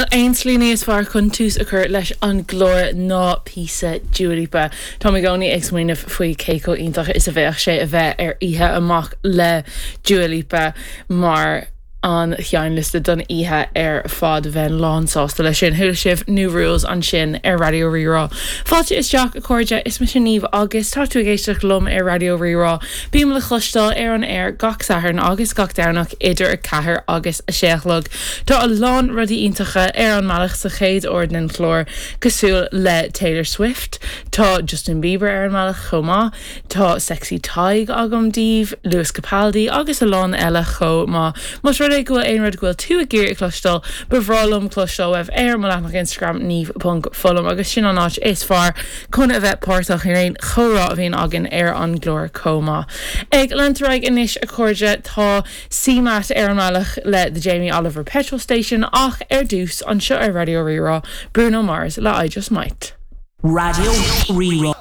aon tslí níos fearr chun tús a chur leis an gclár ná píosa Dua Lipa. Táim i gcónaí ag smaoineamh faoi cé chomh iontach is a bheadh sé a bheith ar oíche amach le Dua Lipa mar an seinnliosta don oíche ar fad. Bheinn lán sásta leis sin. Chuala sibh New Rules ansin ar Raidió Rí-Rá. Fáilte isteach, a chairde, is mise Niamh agus tá tú ag éisteacht liom ar Raidió Rí-Rá. Bím le cloisteáil ar an aer gach Satharn agus gach Domhnach idir 4 agus 6 a chlog. Tá a lán rudaí iontacha ar an mbealach sa chéad uair den chlár, cosúil le Taylor Swift, tá Justin Bieber ar an mbealach chomh maith, Tá Sexy Tadhg agam daoibh, Lewis Capaldi agus a lán eile chomh maith. Más rud é go bhfuil aon rud go bhfuil tú ag iarraidh a chloisteáil, ba bhreá liom cloisteáil uaibh ar mo leathanach Instagram niamh ponc foghlaim agus sin an áit is fearr chun a bheith páirteach in aon chomhrá a bhíonn againn ar an gclár chomh maith. Ag leanúint ar aghaidh anois a chairde, tá CMAT ar an mbealach le The Jamie Oliver Petrol Station ach ar dtús, anseo ar Raidió Rí-Rá, Bruno Mars le I Just Might. Raidió Rí-Rá.